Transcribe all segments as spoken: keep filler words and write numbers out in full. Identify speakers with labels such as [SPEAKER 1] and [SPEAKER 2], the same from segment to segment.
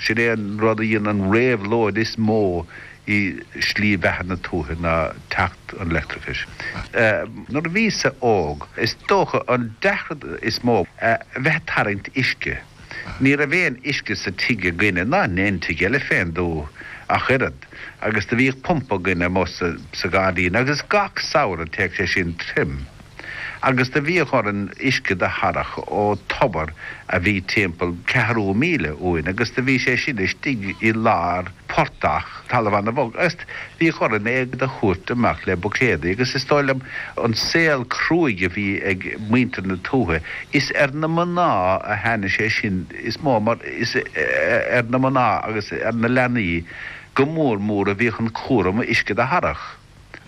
[SPEAKER 1] Sin é an rud a dhein an réabhlóid is mó i slí bheatha na tuaithe ná teacht an leictreachais. Nuair a bhíos-sa óg, is dócha an deacracht is mó a bheith ag tarraingt uisce. Ní raibh aon uisce sa tigh againne, ná in aon tigh eile fén dtuath ach oiread, agus do bhíodh pumpa againne amuigh sa ghairdín agus gach samhradh théadh sé sin tirim. Agus do bhíodh orainn uisce do tharrach ó tobar a bhí timpeall ceathrú míle uainn agus do bhí sé sin istigh i lár portach, talamh ana-bhog, agus bhíodh orainn é do thabhairt amach le buicéadaí agus is dóigh liom an saol cruaidh a bhí ag muintir na tuaithe, is ar na mná a tháinig sé sin is mó mar is ar na mná agus ar na leanaí go mór mór a bhíodh an cúram uisce do tharrach.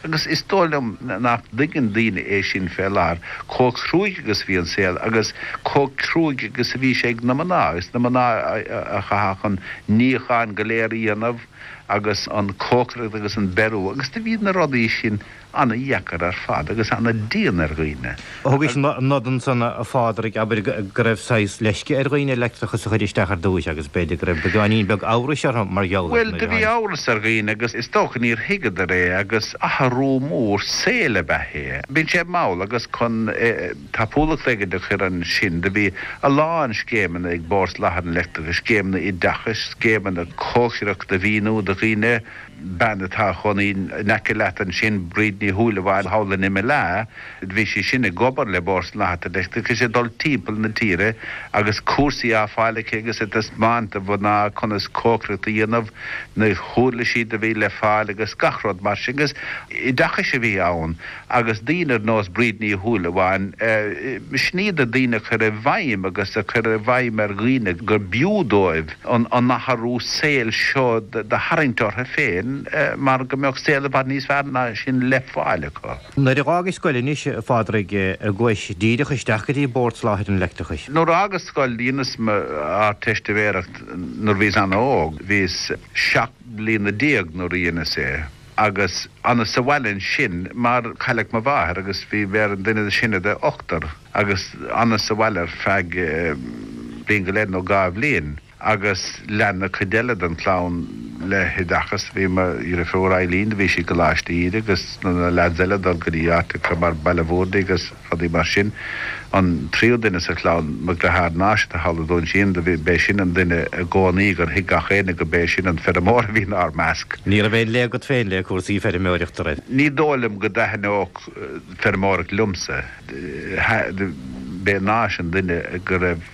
[SPEAKER 1] Agus is dóigh liom nach dtuigeann daoine é sin fé láthair, chomh cruaidh agus a bhí an saol agus chomh cruaidh agus a bhí sé ag na mná. Is na mná a chaithfeadh an níochán go léir a dhéanamh agus an cócaireacht agus an beiriú agus do bhí na rudaí sin ana-dheacair ar fad agus ana-dian ar dhaoine.
[SPEAKER 2] Thugais nod ansan, a Phádraig, abair, go raibh saghas leisce ar dhaoine leictreachas a chur isteach ar dtúis agus b'fhéidir go raibh beagáinín beag amhrais orthu mar gheall air
[SPEAKER 1] Bhuel,
[SPEAKER 2] nuair
[SPEAKER 1] do
[SPEAKER 2] a
[SPEAKER 1] bhí
[SPEAKER 2] tháinig.
[SPEAKER 1] amhras ar dhaoine agus is dócha níor thuigeadar é agus athrú mór saoil ab ea é. Bíonn sé mall agus chun tapúlacht éigin a chur ansin do bhí a lán scéimeanna ag Bord Soláthair an Leictreachais, scéimeanna oideachais, scéimeanna cócaireachta a mhíniú do dhaoine, bean atá ina cónaí in aice leat ansin, Bríd Ní Shúilleabháin thall in Imileá, bhí sí sin ag obair le Bord Soláthair an Leictreachais ag dul timpeall na tíre agus cúrsaí á fáil aici agus ag taispeáint do mhná conas cócaireacht a dhéanamh, na huirlisí a bhí le fáil agus gach rud mar sin agus oideachais a bhí ann agus daoine ar nós Bríd Ní Shúilleabháin, sin iad na daoine a chuir i bhfeidhm agus a chuir i bhfeidhm ar dhaoine gur b'fhiú dóibh an athrú saoil seo do tharraingt orthu féin mar go mbeadh saol i bhfad níos fearr ná sin le fáil acu.
[SPEAKER 2] Nuair a dh'fhágais scoil anois, a Phádraig, ar ghabhais díreach isteach go dtí Bord Soláthair an Leictreachais?
[SPEAKER 1] Nuair a fhágas scoil, dheineas m'Ardteistiméireacht nuair a bhíos ana-óg. Bhíos seacht mbliana déag nuair a dheineas é agus fhanas sa bhaile ansin mar cailleadh mo mháthair agus bhí mé ar an duine is sine de ochtar agus fhanas sa bhaile ar feadh bliain go leith nó dhá bhliain. Agus lean an chuid eile den chlann le hoideachas. Bhí mo dheirfiúr Eileen, do bhí sí i gColáiste Íde agus na leaids eile ag dul go dtí áiteacha mar Baile Bhúirne agus rudaí mar sin. An tríú duine sa chlann, mo dheartháir Náis atá thall i Dún Síon, do bhí, b'é sin an duine i gcónaí gur thuig gach éinne go b'é sin an feirmeoir a bhí inár measc.
[SPEAKER 2] Ní raibh aon lé agat féin le cúrsaí feirmeoireachta, raibh?
[SPEAKER 1] Ní dóigh liom go dtaitneodh feirmeoireacht liomsa. B'é Náis an duine go raibh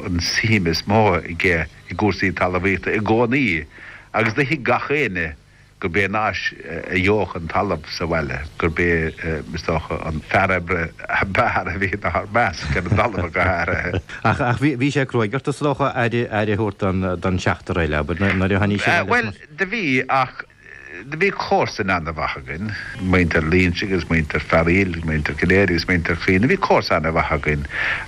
[SPEAKER 1] an suim is mó aige i gcúrsaí talmhaíochta i gcónaí agus do thuig gach éinne gurb é Náis a gheobhadh an talamh sa bhaile, gurb é, is dócha, an fear oibre ab fhearr a bhí inár measc, ar an dtalamh go háirithe.
[SPEAKER 2] Ach bhí sé cruaidh ort, is dócha, aire a thabhairt don seachtar eile, abair, nuair a tháinig siad
[SPEAKER 1] aníos? Bhuel, do bhí, ach Do bhí comharsain ana-mhaith againn, muintir Lynch agus muintir Fearaíl, muintir Cinnéide agus muintir Chaoin, bhí comharsa ana-mhaith againn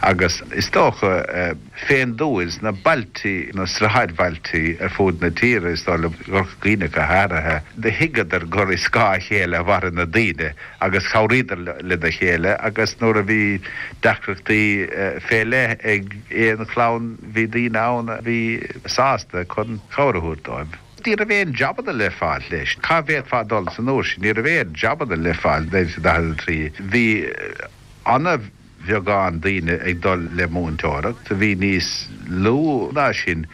[SPEAKER 1] agus is dócha fén dtuath sna bailtí, na sráidbhailtí ar fuaid na tíre, is dóigh liom, i gCorca Dhuibhne go háirithe, do thuigeadar gur i scáth a chéile a mhaireann na daoine agus chabhraíodar lena chéile agus nuair a bhí deacrachtaí fé leith ag aon chlann bhí daoine ann a bhí sásta chun cabhair a thabhairt dóibh. Ní raibh aon jabanna le fáil leis. Cá bhféadfá dul san uair sin? Ní raibh aon jabanna le fáil naoi déag daichead a trí. Bhí ana-bheagán daoine ag dul le múinteoireacht. Bhí níos lú ná sin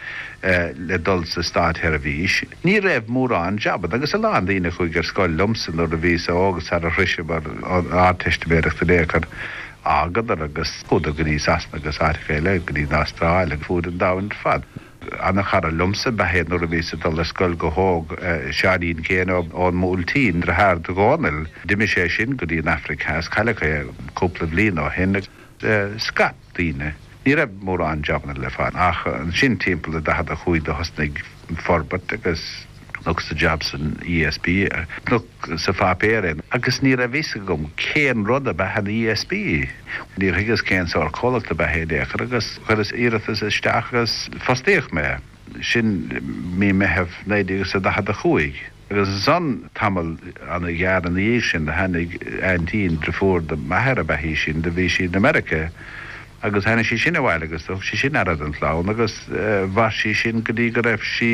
[SPEAKER 1] le dul sa státsheirbhís. Ní raibh mórán jabanna agus a lán daoine a chuaigh ar scoil liomsa nuair a bhíos óg sara shroiseamar an Ardteistiméireacht in aon chor, d'fhágadar agus chuadar go dtí Sasana agus áiteacha eile, go dtí an Astráil agus fuaid an domhain ar fad. Ana-chara liomsa ab ea é nuair a bhíos ag dul ar scoil go hóg, Seáinín Keane ón mBuailtín, deartháir do Dhónaill. D'imigh sé sin go dtí an Afraic Theas, cailleadh é cúpla bhliain ó shin. Scaip daoine. Ní raibh mórán jabanna le fáil ach ansin timpeall a daichead a chúig do thosnaigh forbairt agus chonac jab san E S B, chonac sa pháipéar é agus ní raibh fhios agam cén rud ab ea an E S B. Níor thuigeas cén sórt comhlacht ab ea é in aon chor agus chuireas iarratas isteach agus fostaíodh mé. Sin mí Meitheamh naoi déag is a daichead a chúig. Agus ansan tamall ana-ghearr ina dhiaidh sin do tháinig aintín, driofúr do m'athair ab ea í sin, do bhí sí in America. Agus tháinig sí sin abhaile agus thug sí sin aire don chlann agus mhair sí sin go dtí go raibh sí